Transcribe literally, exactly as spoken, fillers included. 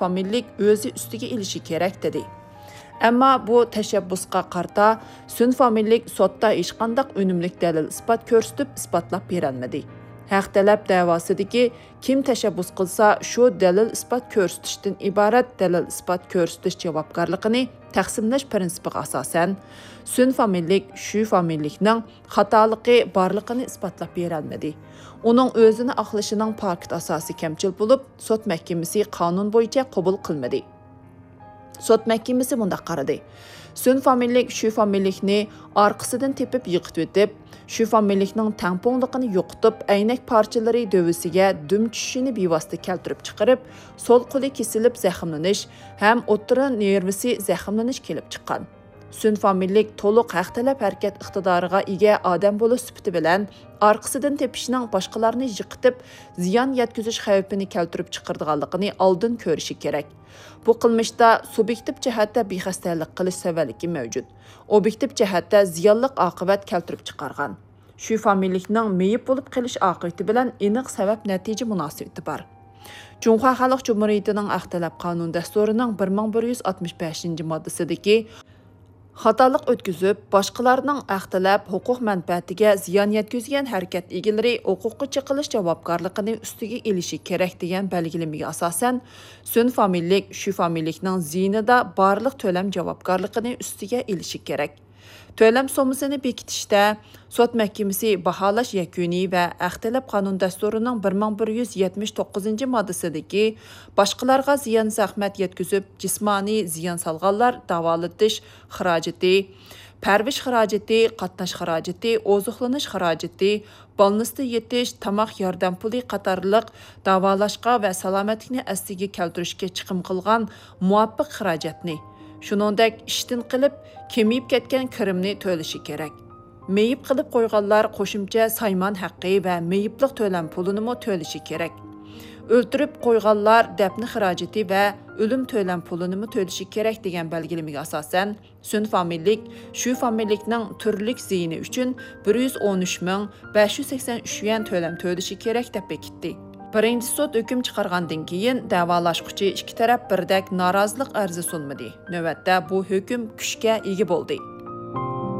فامىلىلىك ئۆزى ئۈستىگە ئېلىشى كېرەك، دېدى. ئەمما بۇ تەشەببۇسقا قارىتا سۈن فامىلىلىك سوتتا ھېچقانداق ئۈنۈملۈك دەلىل-ئىسپات كۆرسىتىپ ئىسپاتلاپ بېرەلمىدى. ھەق تەلەپ دەۋاسىدىكى كىم تەشەببۇس قىلسا، شۇ دەلىل-ئىسپات كۆرسىتىشتىن ئىبارەت دەلىل-ئىسپات كۆرسىتىش جاۋابكارلىقىنى تەقسىملەش پىرىنسىپىغا ئاساسەن، سۈن فامىلىلىك شۈ فامىلىلىكنىڭ خاتالىقى بارلىقىنى ئىسپاتلاپ بېرەلمىدى. ئۇنىڭ ئۆزىنى ئاقلىشىنىڭ پاكىت ئاساسى كەمچىل بولۇپ، سوت مەھكىمىسى قانۇن بويىچە قوبۇل قىلمىدى. سوت مەھكىمىسى مۇنداق قارىدى: سۈن فامىلىلىك شۈ فامىلىلىكنى ئارقىسىدىن تېپىپ يىقىتىۋېتىپ، شۈ فامىلىلىكنىڭ تەڭپۇڭلۇقىنى يوقىتىپ، ئەينەك پارچىلىرى دۆۋىسىگە دۈم چۈشۈشىنى بىۋاسىتە كەلتۈرۈپ چىقىرىپ، سول قولى كېسىلىپ زەخىملىنىش ھەم ئوتتۇرا نېرۋىسى زەخىملىنىش كېلىپ چىققان. سۈن فامىلىلىك تولۇق ھەق تەلەپ ھەرىكەت ئىقتىدارىغا ئىگە ئادەم بولۇش سۈپىتى بىلەن، ئارقىسىدىن تېپىشنىڭ باشقىلارنى يىقىتىپ، زىيان يەتكۈزۈش خەۋپىنى كەلتۈرۈپ چىقىرىدىغانلىقىنى ئالدىن كۆرۈشى كېرەك. بۇ قىلمىشتا سۇبيېكتىپ جەھەتتە بىخەستەلىك قىلىش سەۋەنلىكى مەۋجۇت. ئوبيېكتىپ جەھەتتە زىيانلىق ئاقىۋەت كەلتۈرۈپ چىقارغان. شۈ فامىلىلىكنىڭ مېيىپ بولۇپ قېلىش ئاقىۋىتى بىلەن ئېنىق سەۋەب نەتىجە مۇناسىۋىتى بار. جۇڭخۇا خەلق جۇمھۇرىيىتىنىڭ ھەق تەلەپ قانۇن دەستۇرىنىڭ بىر مىڭ بىر يۈز ئاتمىش بەشىنچى ماددىسىدىكى خاتالىق ئۆتكۈزۈپ، باشقىلارنىڭ ھەق تەلەپ، ھوقۇق مەنپەئەتىگە زىيان يەتكۈزگەن ھەرىكەت ئىگىلىرى ھوقۇققا چېقىلىش جاۋابكارلىقىنى ئۈستىگە ئېلىشى كېرەك دېگەن بەلگىلىمىگە ئاساسەن، سۈن فامىلىلىك شۈ فامىلىلىكنىڭ زىيىنىدا بارلىق تۆلەم جاۋابكارلىقىنى ئۈستىگە ئېلىشى كېرەك. تۆلەم سوممىسىنى بېكىتىشتە سوت مەھكىمىسى باھالاش يەكۈنى ۋە ھەق تەلەپ قانۇن دەستۇرىنىڭ بىر مىڭ بىر يۈز يەتمىش توققۇزىنچى ماددىسىدىكى باشقىلارغا زىيان زەخمەت يەتكۈزۈپ، جىسمانىي زىيان سالغانلار داۋالىتىش خىراجىتى، پەرۋىش خىراجىتى، قاتناش خىراجىتى، ئوزۇقلىنىش خىراجىتى، بالنىستا يېتىش، تاماق ياردەم پۇلى قاتارلىق داۋالاشقا ۋە سالامەتلىكنى ئەسلىگە كەلتۈرۈشكە چىقىم قىلغان مۇۋاپىق خىراجەتنى، شۇنىڭدەك ئىشتىن قېلىپ، كېمىيىپ كەتكەن كىرىمنى تۆلىشى كېرەك. مېيىپ قىلىپ قويغانلار قوشۇمچە سايمان ھەققى ۋە مېيىپلىق تۆلەم پۇلىنىمۇ تۆلىشى كېرەك. ئۆلتۈرۈپ قويغانلار دەپنە خىراجىتى ۋە ئۆلۈم تۆلەم پۇلىنىمۇ تۆلىشى كېرەك دېگەن بەلگىلىمىگە ئاساسەن، سۈن فامىلىلىك شۈ فامىلىلىكنىڭ تۈرلۈك زىيىنى ئۈچۈن بىر يۈز ئون ئۈچ مىڭ بەش يۈز سەكسەن ئۈچ يۈەن تۆلەم تۆلىشى كېرەك دەپ بېكىتتى. بىرىنچى سوت ھۆكۈم چىقارغاندىن كېيىن، دەۋالاشقۇچى ئىككى تەرەپ بىردەك نارازىلىق ئەرزى سۇنمىدى. نۆۋەتتە بۇ ھۆكۈم كۈچكە ئىگە بولدى.